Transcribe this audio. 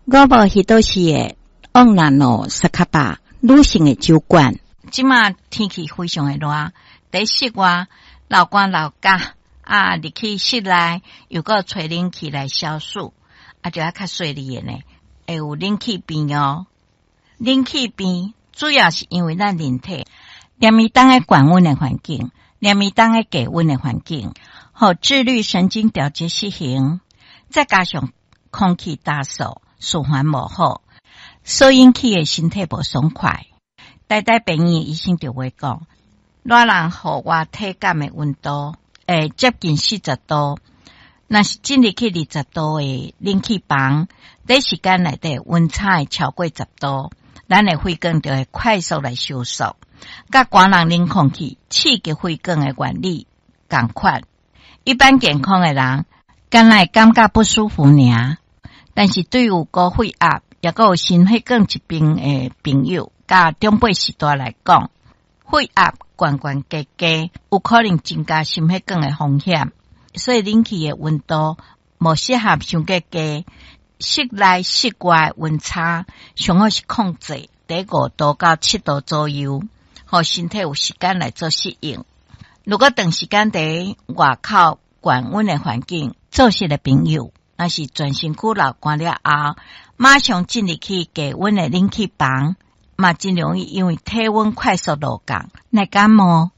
我無彼倒是的旺那諾斯卡巴女性的酒館。這馬天氣非常的熱，佇室外流汗流甲啊，入去室內又閣吹冷氣來消暑，啊，就愛較細膩的呢，會有冷氣病哦。冷氣病主要是因為咱人體連伊當个懸溫的環境，連伊當个低溫的環境，予自律神經調節失衡，再加上空氣乾燥，循環無好，所引起的身體無爽快。台大病院醫生就會講，熱人戶外體感的溫度會接近40度，若是進入去20度的冷氣房，短時間內底溫差會超過10度，咱的血管就會快速來收縮，佮寒人冷空氣刺激血管的原理仝款。一般健康的人，敢若會感覺不舒服爾，但是對有高血壓，抑閣有心血管疾病的朋友，佮長輩時代來講，血壓懸懸低低，有可能增加心血管的風險。所以冷氣的溫度無適合傷過低，室內室外溫差上好是控制佇5度到7度左右，予身體有時間來做適應。如果長時間佇外口懸溫的環境做事的朋友，若是全身軀流汗了後，馬上進入去低溫的冷氣房，嘛真容易因為體溫快速落降來感冒。